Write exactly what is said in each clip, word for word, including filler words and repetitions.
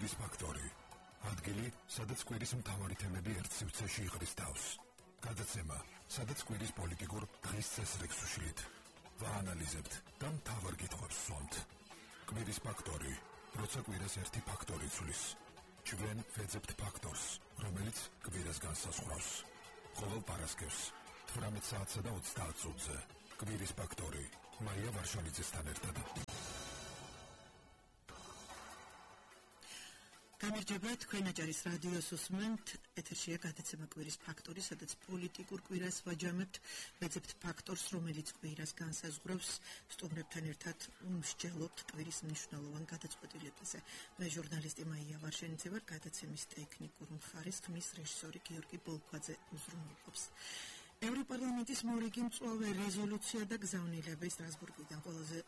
კვირის ფაქტორი. ადგილი, სადაც კვირის მთავარი თემები ერთ სივრცეში იღრის თავს. გადაცემა, სადაც კვირის პოლიტიკურ დღის წესრიგს უშლით. ვაანალიზებთ და მთავარ კითხვებს ვსვამთ. კვირის ფაქტორი, როცა კვირას ერთი ფაქტორი ცვლის. ჩვენ ვეძებთ ფაქტორს, რომელიც კვირას განსაზღვრავს. ყოველ პარასკევს, თვრამეტ საათსა და ოცდაათ წუთზე. კვირის ფაქტორი, მაია ვარშალიძესთან ერთად. გამარჯობა, თქვენ აჭარის რადიოს უსმენთ, ეთერშია გადაცემა კვირის ფაქტორი, სადაც პოლიტიკურ კვირას ვაჯამებთ, ვეძებთ ფაქტორს, რომელიც კვირას განსაზღვრავს, სტუმრებთან ერთად უმსჯელობთ კვირის მნიშვნელოვან გადაწყვეტილებაზე. მე ჟურნალისტი მაია ვარშალიძე ვარ, გადაცემის ტექნიკურ მხარეს ხმის რეჟისორი გიორგი ბოლქვაძე უზრუნველყოფს. ევროპარლამენტის მორიგი მწვავე რეზოლუცია და გზავნილება სტრასბურგიდან ყველაზე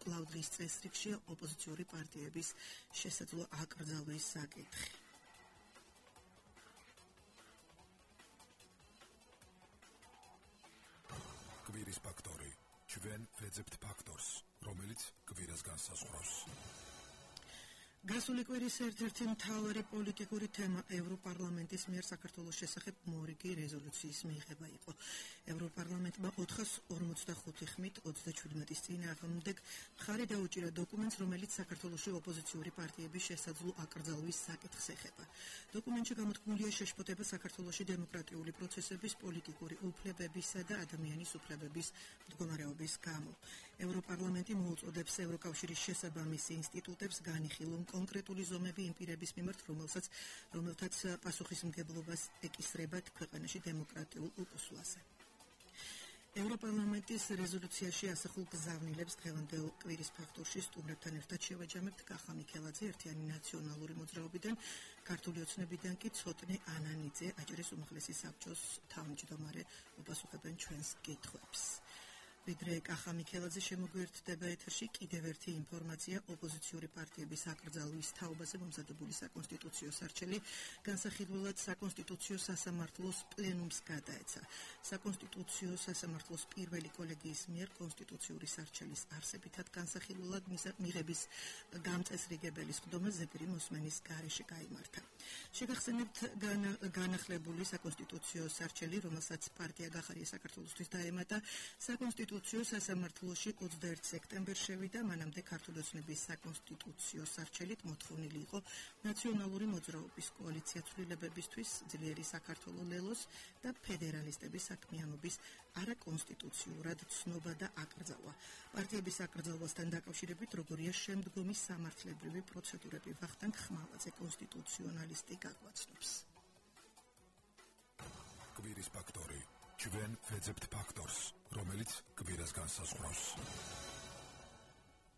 კვლავდრის წესრიგშია ოპოზიციური პარტიების შესაძლო აკრძალვის საკითხი. კვირის ფაქტორი. ჩვენ ვეძებთ ფაქტორს, რომელიც კვირას განსაზღვრავს. გასული კვირის ერთ-ერთი მთავარი პოლიტიკური თემა ევროპარლამენტის მიერ საქართველოს შესახებ მორიგი რეზოლუციის მიღება იყო. ევროპარლამენტმა ოთხას ორმოცდახუთი ხმით ოცდაჩვიდმეტის წინააღმდეგ მხარი დაუჭირა დოკუმენტს, რომელიც საქართველოში ოპოზიციური პარტიების შესაძლო აკრძალვის საკითხს ეხება. დოკუმენტში გამოთქმულია შეშფოთება საქართველოში დემოკრატიული პროცესების, პოლიტიკური უფლებებისა და ადამიანის უფლებების მდგომარეობის გამო. ევროპარლამენტი მოუწოდებს ევროკავშირის შესაბამის ინსტიტუტებს განიხილონ კონკრეტული ზომები იმ პირების მიმართ, რომელსაც რომელთაც პასუხისმგებლობას ეკისრებათ ქვეყანაში დემოკრატიულ უპასუხაზე. ევროპარლამენტის რეზოლუციაში ასახულ გზავნილებს დღევანდელ კვირის ფაქტორში სტუმრებთან ერთად შევაჯამებთ კახა მიქელაძე, ერთიანი ნაციონალური მოძრაობიდან, ქართული ოცნებიდან კი ცოტნე ანანიძე, აჭარის უმაღლესი საბჭოს თავმჯდომარე, უპასუხებენ ჩვენს კითხვებს. ვიდრე კახა მიქელაძე შემოგვიერთდება ეთერში, კიდევ ერთი ინფორმაცია ოპოზიციური პარტიების აკრძალვის თაობაზე მომზადებული საკონსტიტუციო სარჩელი განსახილველად საკონსტიტუციო სასამართლოს პლენუმს გადაეცა. საკონსტიტუციო სასამართლოს პირველი კოლეგიის მიერ კონსტიტუციური სარჩელის არსებითად განსახილველად მიღების დამწესრიგებელი სხდომა ზეპირი მოსმენის გარეშე გაიმართა. შეგახსენებთ განახლებული საკონსტიტუციო სარჩელი, რომელსაც პარტია გახარია საქართველოსთვის დაემატა, საკონსტიტუციო სასამართლოში ოცდაერთი სექტემბერს შევიდა, მანამდე ქართული ოცნების საკონსტიტუციო სარჩელით მოთხოვნილი იყო ნაციონალური მოძრაობის კოალიცია ცვლილებებისთვის, ძლიერი საქართველო ლელოს და ფედერალისტების საქმიანობის არაკონსტიტუციურად ცნობა და აკრძალვა. პარტიების აკრძალვასთან დაკავშირებით როგორია შემდგომი სამართლებრივი პროცედურები, ვახტანგ ხმალაძე, კონსტიტუციონალისტი გაგვაცნობს. კვირის ფაქტორი. ჩვენ ვეძებთ ფაქტორს, რომელიც კვირას განსაზღვრავს.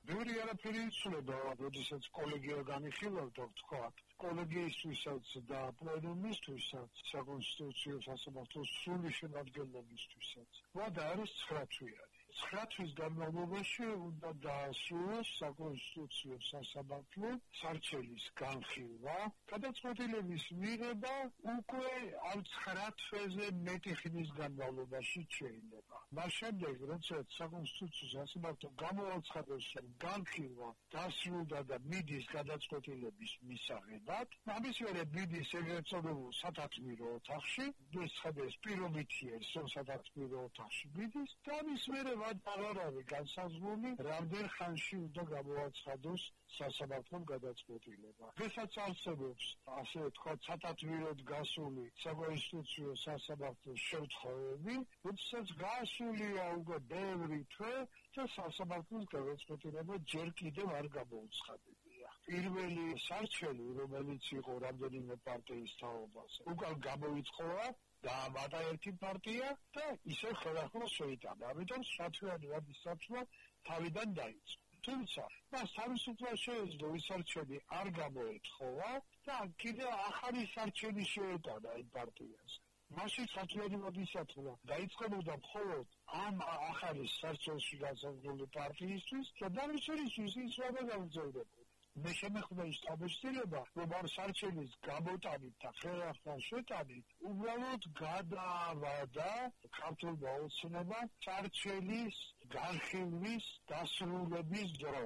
ბევრი არაფერი იცვლება, როდესაც კოლეგია განიხილავდა, ვთქვათ, კოლეგიისთვისაც და პლენუმისთვისაც, საკონსტიტუციო სასამართლოს სრული შემადგენლობისთვისაც. ვადა არის ცხრა თვიანი. ცხრა თვის განმავლობაში უნდა დაასრულოს საკონსტიტუციო სასამართლო სარჩელის განხილვა, გადაწყვეტილების მიღება უკვე ამ ცხრა თვეზე მეტი ხნის განმავლობაში შეიძლება. მას შემდეგ, როდესაც საკონსტიტუციო სასამართლო გამოაცხადოს, რომ განხილვა დასრულდა და მიდის გადაწყვეტილების მისაღებად, ამის მერე მიდის ეგრეთ წოდებულ სათათბირო ოთახში, ეს ხდეს პირობითია, რომ სათათბირო ოთახში მიდის და ამის მერე აღარ არის განსაზღვრული, რამდენ ხანში უნდა გამოაცხადოს სასამართლომ გადაწყვეტილება. დღესაც არსებობს, ასე ვთქვათ, სათათბიროდ გასული საკონსტიტუციო სასამართლოს შემთხვევები, როდესაც გასულია უკვე ბევრი თვე და სასამართლოს გადაწყვეტილება ჯერ კიდევ არ გამოუცხადებია. პირველი სარჩელი, რომელიც იყო რამდენიმე პარტიის თაობაზე, უკან გამოიწხოვა დაამატა ერთი პარტია და ისე ხელახლა შეიტანა. ამიტომ სათვიანი ვადის საფრთხე თავიდან დაიწყო. თუმცა მას თავისუფლად შეეძლო ის სარჩელი არ გამოეთხოვა და კიდევ ახალი სარჩელი შეეტანა იმ პარტიას. მაშინ სათვიანი ვადის საფრთხე დაიწყებოდა მხოლოდ ამ ახალი სარჩელში განსაზღვრული პარტიისთვის და დამისვენისთვის ის რა გამძლეებდა. მე შემეხვდა ის თავისუფლება, რომ ამ სარჩელის გამოტანით და ხელახლა შეტანით უბრალოდ გადაავადა ქართულმა ოცნებამ სარჩელის განხილვის დასრულების დრო.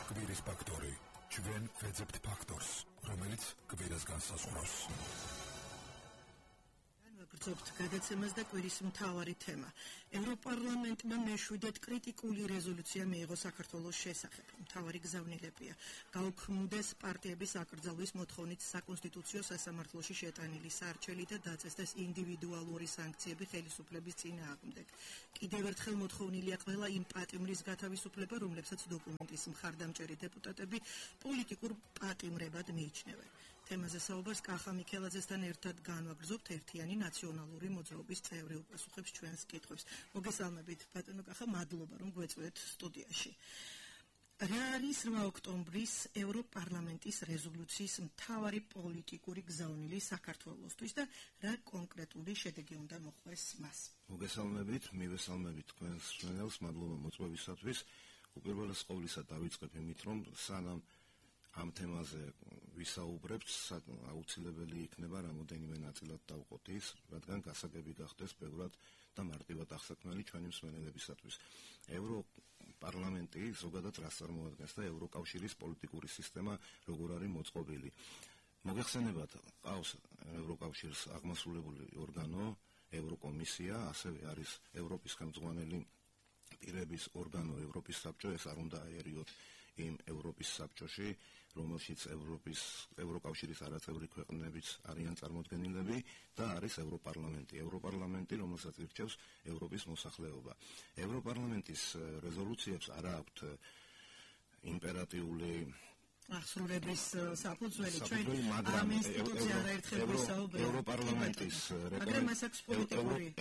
კვირის ფაქტორი. ჩვენ ჩვენ გვეძებთ ფაქტორს, რომელიც კვირას განსაზღვრავს. გრძობთ გადაცემას და კვირის მთავარი თემა. ევროპარლამენტმა მეშვიდედ კრიტიკული რეზოლუცია მიიღო საქართველოს შესახებ. მთავარი გზავნილებია გაუქმდეს პარტიების აკრძალვის მოთხოვნით საკონსტიტუციო სასამართლოში შეტანილი სარჩელი და დაწესდეს ინდივიდუალური სანქციები ხელისუფლების წინააღმდეგ. კიდევ ერთხელ მოთხოვნილია ყველა იმ პატიმრის გათავისუფლება, რომლებსაც დოკუმენტის მხარდამჭერი დეპუტატები პოლიტიკურ პატიმრებად მიიჩნევენ. თემაზე საუბარს კახა მიქელაძესთან ერთად განვაგრძობთ ერთიანი ნაციონალური მოძრაობის წევრი უპასუხებს ჩვენს კითხვებს. მოგესალმებით ბატონო კახა, მადლობა რომ გვეწვევთ სტუდიაში. რა არის რვა ოქტომბრის ევროპარლამენტის რეზოლუციის მთავარი პოლიტიკური გზავნილი საქართველოსთვის და რა კონკრეტული შედეგი უნდა მოხვდეს მას? მოგესალმებით, მივესალმებით თქვენს მშვენელს, მადლობა მოწვევისათვის. უპირველეს ყოვლისა დავიწყებ იმით, რომ სანამ ამ თემაზე ვისაუბრებთ, აუცილებელი იქნება რამოდენიმე ნაწილად დავყოთ ის, რადგან გასაგები გახდეს ბევრად და მარტივად აღსაქმნელი ჩვენი მსმენელებისათვის. ევროპარლამენტი ზოგადად რას წარმოადგენს და ევროკავშირის პოლიტიკური სისტემა როგორ არის მოწყობილი. მოგეხსენებათ, ყავს ევროკავშირს აღმასრულებელი ორგანო, ევროკომისია, ასევე არის ევროპის ხელმძღვანელი პირების ორგანო, ევროპის საბჭო, ეს არ უნდა აერიოთ იმ ევროპის საბჭოში, რომელშიც ევროპის ევროკავშირის არაწევრი ქვეყნებიც არიან წარმოდგენილები და არის ევროპარლამენტი. ევროპარლამენტი, რომელსაც ირჩევს ევროპის მოსახლეობა. ევროპარლამენტის რეზოლუციებს არ აქვთ იმპერატიული ახსრულების საფუძველი, ჩვენ ამ ინსტიტუცია არაერთხელ ვისაუბრეთ. ევროპარლამენტის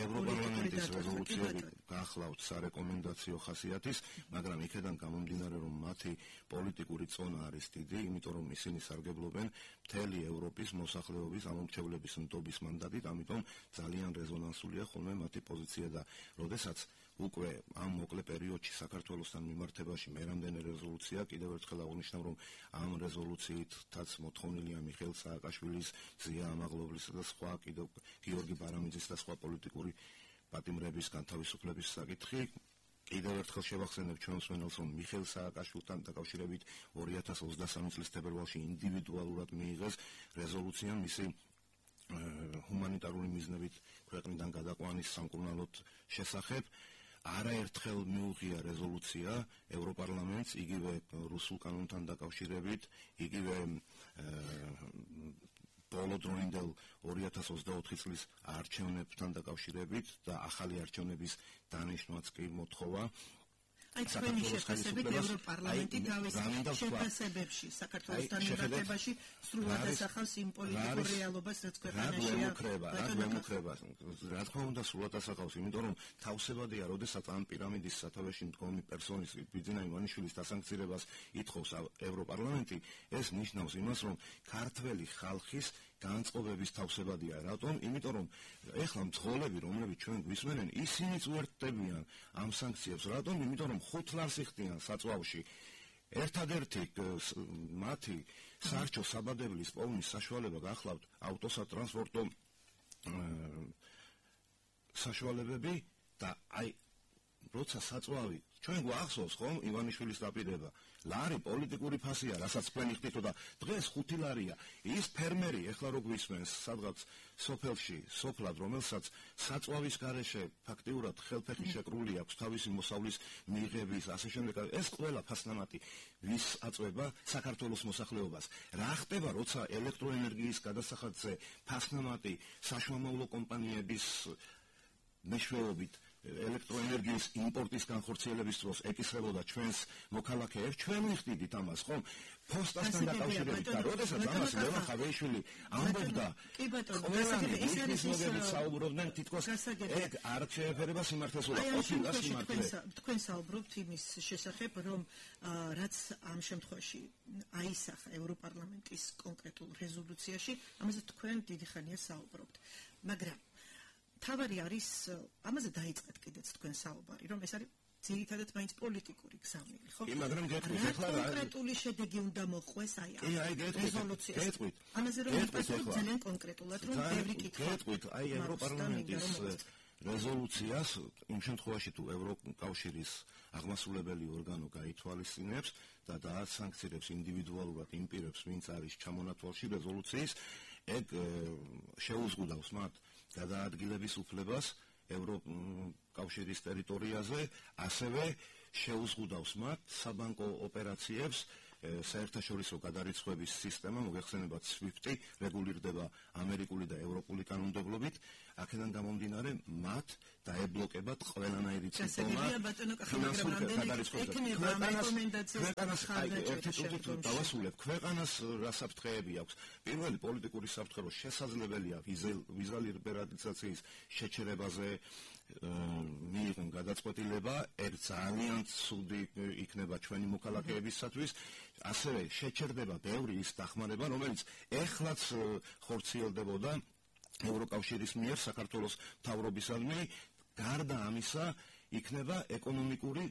ევროპარლამენტის რეზოლუციები გახლავთ სარეკომენდაციო ხასიათის, მაგრამ იქედან გამომდინარე, რომ მათი პოლიტიკური წონა არის დიდი, იმიტომ რომ ისინი სარგებლობენ მთელი ევროპის მოსახლეობის ამომრჩევლების ნდობის მანდატით, ამიტომ ძალიან რეზონანსულია ხოლმე მათი პოზიცია და როდესაც უკვე ამ მოკლე პერიოდში საქართველოსთან მიმართებაში მე რამდენი რეზოლუცია, კიდევ ერთხელ აღნიშნავ, რომ ამ რეზოლუციითაც მოთხოვნილია მიხეილ სააკაშვილის, ზია ამაღლობლისა და სხვა, კიდევ გიორგი ბარამიძის და სხვა პოლიტიკური პატიმრების განთავისუფლების საკითხი. კიდევ ერთხელ შევახსენებ ჩვენს მსმენელს, რომ მიხეილ სააკაშვილთან დაკავშირებით ორი ათას ოცდასამი წლის თებერვალში ინდივიდუალურად მიიღეს რეზოლუცია მისი ჰუმანიტარული მიზნებით ქვეყნიდან გადაყვანის სამკურნალოდ შესახებ. არაერთხელ მიუღია რეზოლუცია ევროპარლამენტს, იგივე რუსულ კანონთან დაკავშირებით, იგივე ბოლოდროინდელ ორი ათას ოცდაოთხი წლის არჩევნებთან დაკავშირებით და ახალი არჩევნების დანიშვნაც კი მოთხოვა. აი ჩვენი შეფასებით ევროპარლამენტი თავის შეფასებებში საქართველოსთან მიმართებაში სრულად ასახავს იმ პოლიტიკურ რეალობას, რაც ქვეყანაშია. რა გვემუქრება, რა თქმა უნდა სრულად ასახავს, იმიტომ რომ თავსებადია, როდესაც ამ პირამიდის სათავეში მდგომი პერსონის ბიძინა ივანიშვილის დასანქცირებას ითხოვს ევროპარლამენტი, ეს ნიშნავს იმას, რომ ქართველი ხალხის განწყობების თავსებადია. რატომ? იმიტომ რომ ეხლა მძღოლები, რომლებიც ჩვენ გვისმენენ, ისინიც უერთდებიან ამ სანქციებს. რატომ? იმიტომ რომ ხუთლარს იხდიან საწვავში. ერთადერთი მათი სარჩო საბადებლის პოვნის საშუალება გახლავთ ავტოსატრანსპორტო საშუალებები და აი როცა საწვავი ჩვენ გვახსოვს ხომ ივანიშვილის დაპირება, ლარი პოლიტიკური ფასია, რასაც თქვენ იხდითო და დღეს ხუთი ლარია. ის ფერმერი ეხლა რო გვისმენს სადღაც სოფელში, სოფლად, რომელსაც საწვავის გარეშე ფაქტიურად ხელფეხი შეკრული აქვს თავისი მოსავლის მიღების, ასე შემდეგ, ეს ყველა ფასნამატი ვის აწვება საქართველოს მოსახლეობას. რა ხდება, როცა ელექტროენერგიის გადასახადზე ფასნამატი საშუალო კომპანიების მეშვეობით ელექტროენერგიის იმპორტის განხორციელების დროს ეკისრებოდა ჩვენს მოქალაქეებს, ჩვენ ვიხდიდით ამას, ხომ? ფოსტასთან დაკავშირებით და როდესაც ამას ლევან ხავეიშვილი ამბობდა, ყველანი ის მოგებით საუბრობდნენ, თითქოს ეგ არ შეეფერება სიმართლესობა, ყოფილა სიმართლე. თქვენ საუბრობთ იმის შესახებ, რომ რაც ამ შემთხვევაში აისახა ევროპარლამენტის კონკრეტულ რეზოლუციაში, ამაზე თქვენ დიდი ხანია საუბრობთ. მაგრამ თავარი არის, ამაზე დაიწყეთ კიდეც თქვენ საუბარი, რომ ეს არის ძირითადად მაინც პოლიტიკური გზავნილი, ხო? მაგრამ გეტყვით ახლა რა კონკრეტული შედეგი უნდა მოხდეს აი ამ რეზოლუციას. გეტყვით. ამაზე რომ ვიფასებთ ძალიან კონკრეტულად, რომ ბევრი კითხვა. გეტყვით, აი ევროპარლამენტის რეზოლუციას იმ შემთხვევაში თუ ევროკავშირის აღმასრულებელი ორგანო გაითვალისწინებს და დაასანქცირებს ინდივიდუალურად იმ პირებს, ვინც არის ჩამონათვალში რეზოლუციის, ეგ შეუზღუდავს მათ გადაადგილების უფლებას ევროკავშირის ტერიტორიაზე, ასევე შეუზღუდავს მათ საბანკო ოპერაციებს, საერთაშორისო გადარიცხვების სისტემა, მოგეხსენებათ SWIFT-ი, რეგულირდება ამერიკული და ევროპული კანონმდებლობით, აქედან გამომდინარე მათ დაებლოკებათ ყველანაირი წინსვლა ფინანსური გადარიცხვები. ერთი წუთით დავასრულებ, ქვეყანას რა საფრთხეები აქვს. პირველი პოლიტიკური საფრთხე, რომ შესაძლებელია ვიზა ლიბერალიზაციის შეჩერებაზე მიიღონ გადაწყვეტილება, ერთ ძალიან ცუდი იქნება ჩვენი მოქალაქეებისათვის, ასევე შეჩერდება ბევრი ის დახმარება, რომელიც ეხლაც ხორციელდებოდა ევროკავშირის მიერ საქართველოს მთავრობისადმი, გარდა ამისა იქნება ეკონომიკური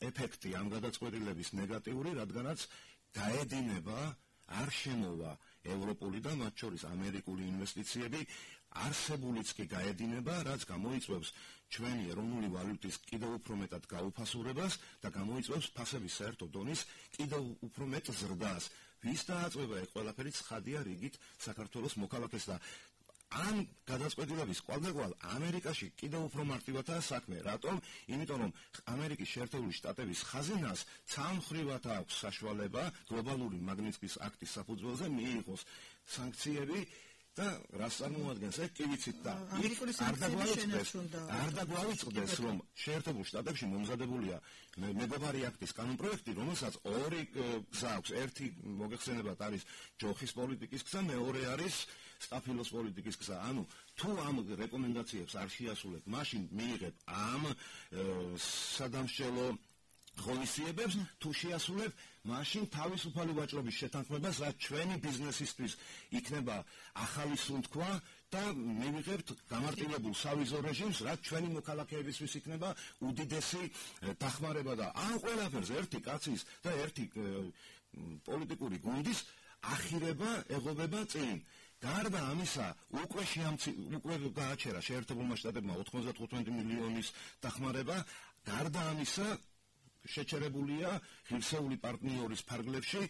ეფექტი ამ გადაწყვეტილების ნეგატიური, რადგანაც გაედინება, არ შემოვა ევროპული და მათ შორის ამერიკული ინვესტიციები, არსებულიც კი გაედინება, რაც გამოიწვევს ჩვენი ეროვნული ვალუტის კიდევ უფრო მეტად გაუფასურებას და გამოიწვევს ფასების საერთო დონის კიდევ უფრო მეტ ზრდას. ვის დააწვევა ეგ ყველაფერი ცხადია რიგით საქართველოს მოქალაქეს და ამ გადაწყვეტილების კვალდაკვალ ამერიკაში კიდევ უფრო მარტივადაა საქმე. რატომ? იმიტომ რომ ამერიკის შეერთებული შტატების ხაზინას ცალმხრივად აქვს საშუალება გლობალური მაგნიტსკის აქტის საფუძველზე მიიღოს სანქციები და რას წარმოადგენს ეგ კი ვიცით და არ დაგვაუწყდეს რომ შეერთებულ შტატებში მომზადებულია მეგობარი აქტის კანონპროექტი, რომელსაც ორი გზა აქვს. ერთი მოგეხსენებათ არის ჯოხის პოლიტიკის გზა, მეორე არის სტაფილოს პოლიტიკის გზა. ანუ თუ ამ რეკომენდაციებს არ შეასრულებ, მაშინ მიიღებ ამ სადამსჯელო ღონისძიებებს, თუ შეასრულებ, მაშინ თავისუფალი ვაჭრობის შეთანხმებას, რაც ჩვენი ბიზნესისთვის იქნება ახალი სუნთქვა და მივიღებთ გამარტივებულ სავიზო რეჟიმს, რაც ჩვენი მოქალაქეებისთვის იქნება უდიდესი დახმარება და ამ ყველაფერს ერთი კაცის და ერთი პოლიტიკური გუნდის ახირება ეღობება წინ. გარდა ამისა, უკვე უკვე გააჩერა შეერთებულმა შტატებმა ოცდათხუთმეტი მილიონის დახმარება, გარდა ამისა შეჩერებულია ღირსეული პარტნიორის ფარგლებში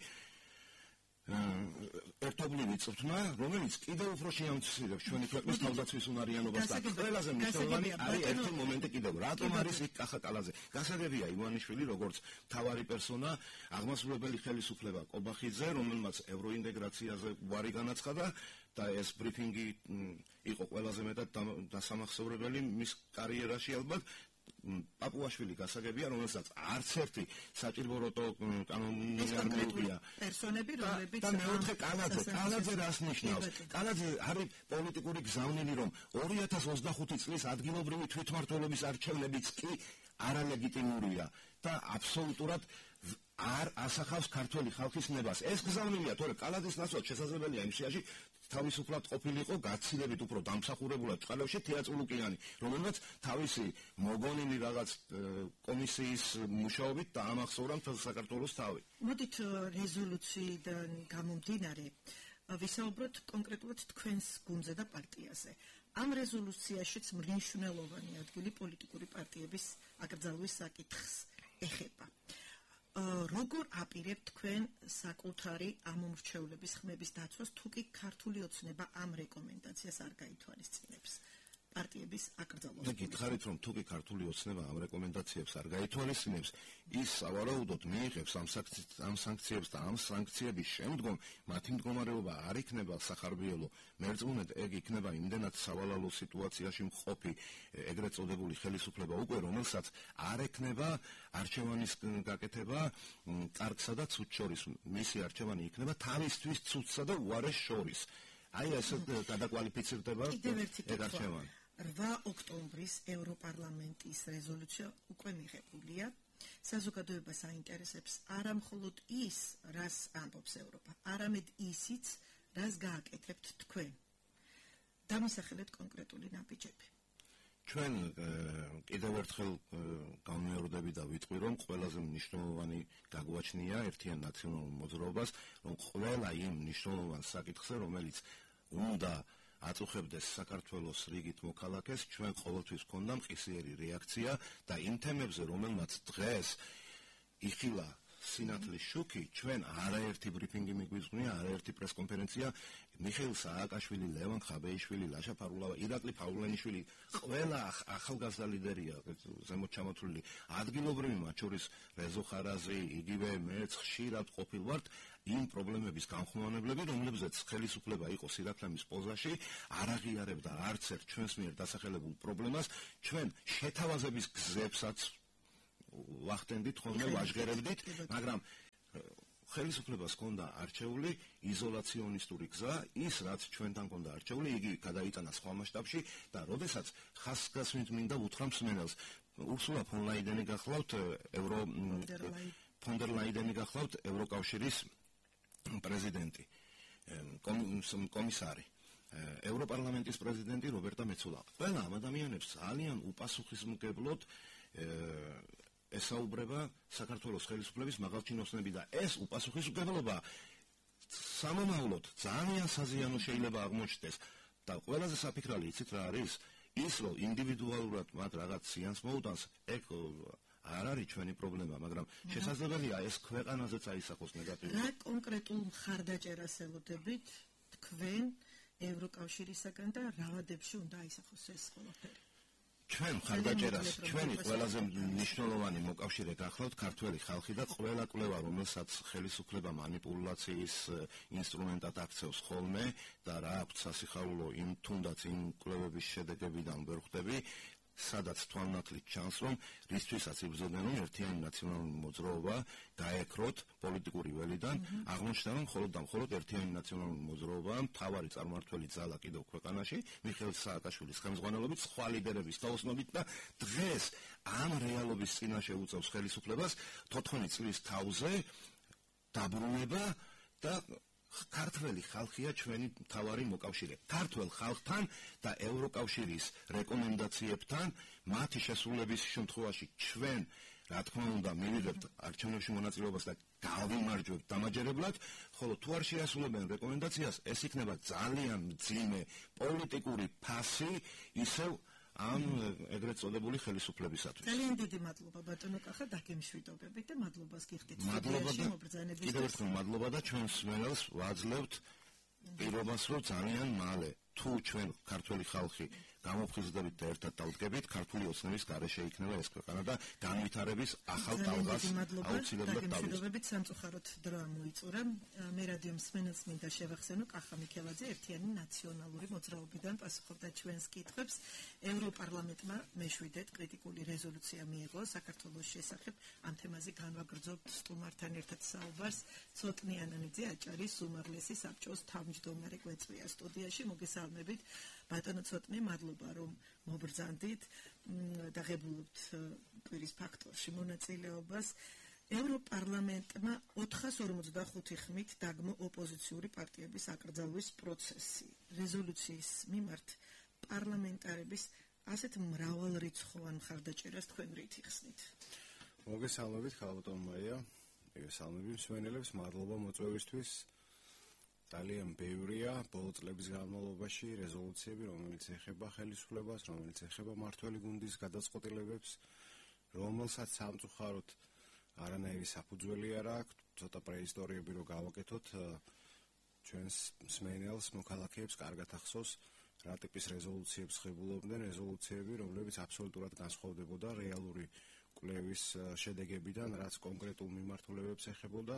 ერთობლივი წვრთნა, რომელიც კიდევ უფრო შეამცირებს ჩვენი ქვეყნის თავდაცვის უნარიანობას და ყველაზე მნიშვნელოვანი არის ერთი მომენტი კიდევ. რატომ არის იქ კახაკალაძე? გასაგებია ივანიშვილი, როგორც მთავარი პერსონა, აღმასრულებელი ხელისუფლება კობახიძე, რომელმაც ევროინტეგრაციაზე უარი განაცხადა და ეს ბრიფინგი იყო ყველაზე მეტად დასამახსოვრებელი მის კარიერაში ალბათ. პაპუაშვილი გასაგებია, რომელსაც არც ერთი საჭიროთო კანონი არ მეუღია. პერსონები, რომლებიც და მეოთხე კანაძე, კანაძე რას ნიშნავს? კანაძე არის პოლიტიკური გზავნილი, რომ ორი ათას ოცდახუთი წლის ადგილობრივი თვითმმართველობის არჩევნებიც კი არალეგიტიმურია და აბსოლუტურად არ ასახავს ქართული ხალხის ნებას. ეს გზავნილია, თორე კანაძის ნაცვლად შესაძლებელია იმ შეაში თავისუფლად ყოფილიყო გაცილებით უფრო დამსახურებულად წყალებში თეატრულუკიანი, რომელმაც თავისი მოგონილი რაღაც კომისიის მუშაობით დაამახსოვრა მთელ საქართველოს თავი. მოდით რეზოლუციიდან გამომდინარე ვისაუბროთ კონკრეტულად თქვენს გუნდზე და პარტიაზე. ამ რეზოლუციაშიც მნიშვნელოვანი ადგილი პოლიტიკური პარტიების აკრძალვის საკითხს ეხება. როგორ აპირებთ თქვენ საკუთარი ამომრჩევლების ხმების დაცვას, თუ კი ქართული ოცნება ამ რეკომენდაციას არ გაითვალისწინებს პარტიების აკრძალვას? და გითხარით, რომ თუ კი ქართული ოცნება ამ რეკომენდაციებს არ გაითვალისწინებს, ის სავარაუდოდ მიიღებს ამ სანქციებს და ამ სანქციების შემდგომ მათი მდგომარეობა არ იქნება სახარბიელო. მერწმუნედ ეგ იქნება იმდენად სავალალო სიტუაციაში მყოფი ეგრეთ წოდებული ხელისუფლება უკვე, რომელსაც არ ექნება არჩევანის გაკეთება კარგსა და ცუდს შორის. მისი არჩევანი იქნება თავისთვის ცუდსა და უარეს შორის. აი ესე გადაკვალიფიცირდება ეგ არჩევანი. რვა ოქტომბრის ევროპარლამენტის რეზოლუცია უკვე მიღებულია. საზოგადოებას აინტერესებს არა მხოლოდ ის, რას ამბობს ევროპა, არამედ ისიც, რას გააკეთებთ თქვენ. დამისახელეთ კონკრეტული ნაბიჯები. ჩვენ კიდევ ერთხელ განმეორდები და ვიტყვი, რომ ყველაზე მნიშვნელოვანი გაგვაჩნია ერთიან ნაციონალურ მოძრაობას, რომ ყველა იმ მნიშვნელოვან საკითხზე, რომელიც უნდა აწუხებდეს საქართველოს რიგით მოქალაქეს, ჩვენ ყოველთვის გვქონდა მყისიერი რეაქცია და იმ თემებზე, რომელმაც დღეს იხილა სინათლის შუქი, ჩვენ არაერთი ბრიფინგი მიგვიძღვნია, არაერთი პრესკონფერენცია, მიხეილ სააკაშვილი, ლევან ხაბეიშვილი, ლაშა ფარულავა, ირაკლი ფაულენიშვილი, ყველა ახალგაზრდა ლიდერია ზემოთ ჩამოთვლილი, ადგილობრივი, მათ შორის რეზო ხარაზი, იგივე მეც ხშირად ყოფილვართ იმ პრობლემების განხმოვანებლები, რომლებზეც ხელისუფლება იყო სირაქლემის პოზაში, არ აღიარებდა არც ერთ ჩვენს მიერ დასახელებულ პრობლემას, ჩვენ შეთავაზების გზებსაც ვახტენდით ხოლმე, ვაჟღერებდით, მაგრამ ხელისუფლებას ჰქონდა არჩეული იზოლაციონისტური გზა, ის რაც ჩვენთან ჰქონდა არჩეული, იგი გადაიტანა სხვა მასშტაბში და როდესაც ხასგასმით მინდა უთხრა მსმენელს, ურსულა ფონ ლაიდენი გახლავთ ევრო ფონ დერ ლაიდენი გახლავთ ევროკავშირის პრეზიდენტი, კომისარი, ევროპარლამენტის პრეზიდენტი რობერტა მეცოლა. ყველა ამ ადამიანებს ძალიან უპასუხისმგებლოდ ესაუბრება საქართველოს ხელისუფლების მაღალჩინოსნები და ეს უპასუხისმგებლობა სამომავლოდ ძალიან საზიანო შეიძლება აღმოჩნდეს და ყველაზე საფიქრალი იცით რა არის? ის რომ ინდივიდუალურად მათ რაღაც ზიანს მოუტანს, ეგ არ არის ჩვენი პრობლემა, მაგრამ შესაძლებელია ეს ქვეყანაზეც აისახოს ნეგატიურად. რა კონკრეტულ მხარდაჭერას ელოდებით თქვენ ევროკავშირისაგან და რა ვადებში უნდა აისახოს ეს ყველაფერი? ჩვენ მხარდაჭერას, ჩვენი ყველაზე მნიშვნელოვანი მოკავშირე გახლავთ ქართველი ხალხი და ყველა კვლევა, რომელსაც ხელისუფლება манипуляციის ინსტრუმენტად აქცევს ხოლმე და რა აქვს სასიხარულო იმ თუნდაც იმ კვლევების შედეგებიდან ვერ ხვდები, სადაც თვალნათლით ჩანს, რომ რისთვისაც იბრძოდნენ, რომ ერთიანი ნაციონალური მოძრაობა გაეკროთ პოლიტიკური ველიდან, აღმოჩნდა, რომ მხოლოდ და მხოლოდ ერთიანი ნაციონალური მოძრაობა მთავარი წარმმართველი ძალა კიდევ ქვეყანაში, მიხეილ სააკაშვილის ხელმძღვანელობით, სხვა ლიდერების თაოსნობით და დღეს ამ რეალობის წინაშე უწევს ხელისუფლებას თოთხმეტ წლის თავზე დაბრუნება და ქართველი ხალხია ჩვენი მთავარი მოკავშირე. ქართველ ხალხთან და ევროკავშირის რეკომენდაციებთან მათი შესრულების შემთხვევაში ჩვენ რა თქმა უნდა მივიღებთ არჩევნებში მონაწილეობას და გავიმარჯვებთ დამაჯერებლად, ხოლო თუ არ შეასრულებენ რეკომენდაციას, ეს იქნება ძალიან მძიმე პოლიტიკური ფასი ისევ ამ ეგრეთ წოდებული ხელისუფლებისათვის. ძალიან დიდი მადლობა ბატონო კახა დაგემშვიდობებით და მადლობას გიხდით. მადლობა და კიდევ ერთხელ მადლობა და ჩვენს მსმენელს ვაძლევთ პირობას, რომ ძალიან მალე თუ ჩვენ ქართველი ხალხი გამოფხიზლდებით და ერთად დავდგებით, ქართული ოცნების გარეშე იქნება ეს ქვეყანა და განვითარების ახალ ტალღას აუცილებლად დავიწყებთ. სამწუხაროდ დრო ამოიწურა. მე რადიო მსმენელს მინდა შევახსენო, კახა მიქელაძე ერთიანი ნაციონალური მოძრაობიდან პასუხობდა ჩვენს კითხვებს. ევროპარლამენტმა მეშვიდეთ კრიტიკული რეზოლუცია მიიღო საქართველოს შესახებ. ამ თემაზე განვაგრძობთ სტუმართან ერთად საუბარს. ცოტნე ანანიძე აჭარის უმაღლესი საბჭოს თავმჯდომარე გვეწვია სტუდიაში. მოგესალმებით ბატონო ცოტნე, მადლობა რომ მობრძანდით და ღებულობთ კვირის ფაქტორში მონაწილეობას. ევროპარლამენტმა ოთხას ორმოცდახუთი ხმით დაგმო ოპოზიციური პარტიების აკრძალვის პროცესი. რეზოლუციის მიმართ პარლამენტარების ასეთ მრავალრიცხოვან მხარდაჭერას თქვენ რით იხსნით? მოგესალმებით ხალბატონ მაია, მოგესალმებით მსმენელებს, მადლობა მოწვევისთვის. ძალიან ბევრია ბოლო წლების განმავლობაში რეზოლუციები, რომელიც ეხება ხელისუფლებას, რომელიც ეხება მართველი გუნდის გადაწყვეტილებებს, რომელსაც სამწუხაროდ არანაირი საფუძველი არ აქვს, ცოტა პრეისტორიები რო გავაკეთოთ, ჩვენს მსმენელს, მოქალაქეებს კარგად ახსოვს, რა ტიპის რეზოლუციებს ხებულობდნენ, რეზოლუციები, რომლებიც აბსოლუტურად განსხვავდებოდა რეალური კვლევის შედეგებიდან, რაც კონკრეტულ მიმართულებებს ეხებოდა.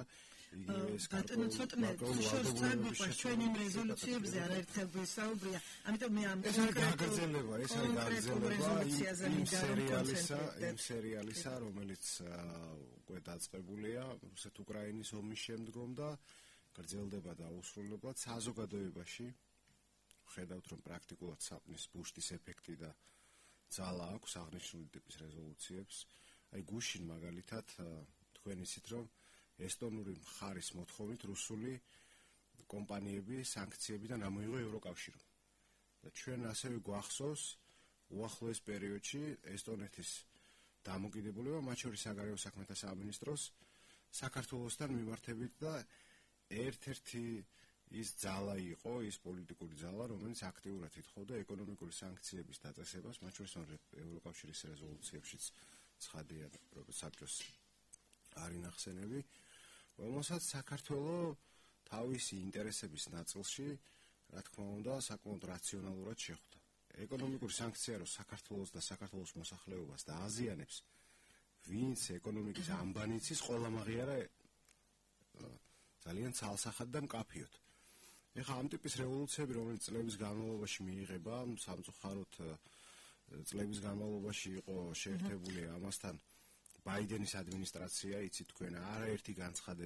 ბატონო ცოტნე შორს წაგვიყვანს ჩვენ იმ რეზოლუციებზე არაერთხელ ვისაუბრია, ამიტომ მე ამ ეს არის გაგრძელება, ეს არის გაგრძელება იმ სერიალისა, იმ სერიალისა, რომელიც უკვე დაწყებულია რუსეთ-უკრაინის ომის შემდგომ და გრძელდება და უსრულებლად საზოგადოებაში. ხედავთ, რომ პრაქტიკულად საპნის ბუშტის ეფექტი და ძალა აქვს აღნიშნული ტიპის რეზოლუციებს. აი გუშინ მაგალითად თქვენ იცით, რომ ესტონური მხარის მოთხოვნით რუსული კომპანიები სანქციებიდან ამოიღო ევროკავშირმა. და ჩვენ ასევე გვახსოვს უახლოეს პერიოდში ესტონეთის დამოკიდებულება, მათ შორის საგარეო საქმეთა სამინისტროს საქართველოსთან მიმართებით და ერთ-ერთი ის ძალა იყო, ის პოლიტიკური ძალა, რომელიც აქტიურად ითხოვდა ეკონომიკური სანქციების დაწესებას, მათ შორის ევროკავშირის რეზოლუციებშიც ცხადია, როგორც საბჭოს არის ნახსენები, რომელსაც საქართველოს თავისი ინტერესების ნაწილში, რა თქმა უნდა, საკმაოდ რაციონალურად შეხვდა. ეკონომიკური სანქცია რო საქართველოს და საქართველოს მოსახლეობას დააზიანებს, ვინც ეკონომიკის ამბანიც ის ყველა მაღიარა ძალიან ცალსახად და მკაფიოდ. ეხლა ამ ტიპის რევოლუციები, რომელიც წლების განმავლობაში მიიღება, სამწუხაროდ წლების განმავლობაში იყო შეერთებული ამასთან ბაიდენის ადმინისტრაცია, იცით თქვენ, არაერთი განცხადება